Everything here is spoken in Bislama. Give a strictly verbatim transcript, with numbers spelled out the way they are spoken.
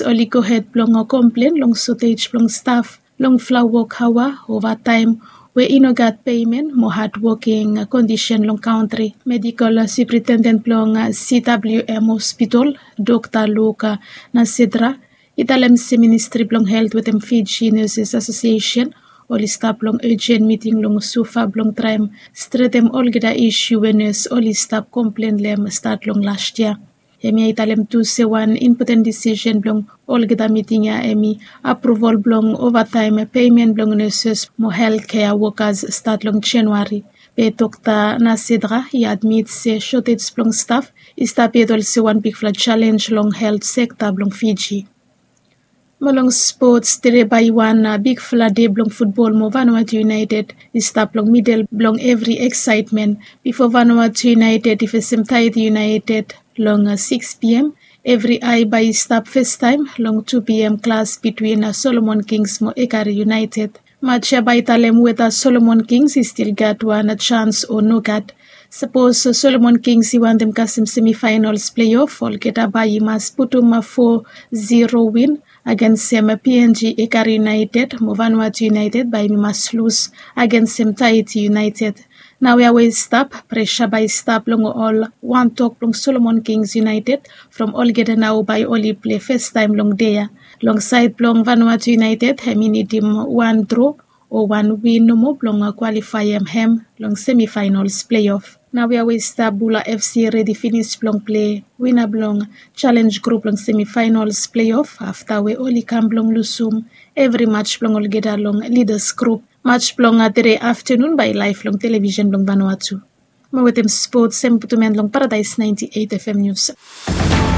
Oli gohed blong komplen long sotej blong staf long flawa wok haoa, ovataem we i no gat peimen mo hadwoking kondisen long kantri. Medikol supritenden blong cwm hospitol, dokta luka nasedra, i talem se ministri blong helt wetem fiji nurses asosiesen oli stap long ejen miting long sufa blong traem stretem olgeta isu we nurse oli stap komplen long hem stat long las yia. Hemia i talem tu se wan impoten disisen blong olgeta miting ya hem i apruval blong ovataem peimen blong nurses mo helkea wokas stat long januari. Be dokta nasedra i admit se sotej blong staf i stap yet olsem wan bigfala jalenj long helt sekta blong fiji. Mo long spots, tede bae i wan bigfala de blong futbol mo vanuatu iunaeted i stap long midel blong evri eksaetmen. Bifo vanuatu iunaeted i fesem taeti iunaeted long siks pm, evri ae bae i stap festaem long tu pm klas bitwin solomon kings mo ekari iunaeted. Maj ya bae i talem weta solomon kings i stil gat wan jans o nogat. Sapos solomon kings i wantem kasem semifaenals pleof olgeta bae i mas putum fo zero win agensem png ekari iunaeted mo vanuatu iunaeted bae i mas lus agensem taeti iunaeted. Naoia we i stap, presa bae i stap long ol wantok blong solomon kings iunaeted from olgeta nao bae oli plei festaem long dei ya. Long saed blong vanuatu iunaeted hem i nidim wan dro o wan win nomo blong kwalifaem hem long semifaenals pleof. Naoia we i stap bula fc redi finis blong plei wina blong jalenj grup long semifaenals pleof afta we oli kam blong lusum evri maj blong olgeta long lidas grup. Maj blong tede aftenun bae i laef long televisen blong vanuatu. Mo wetem spots hem i putum en long paradaes naenti eit fm nius.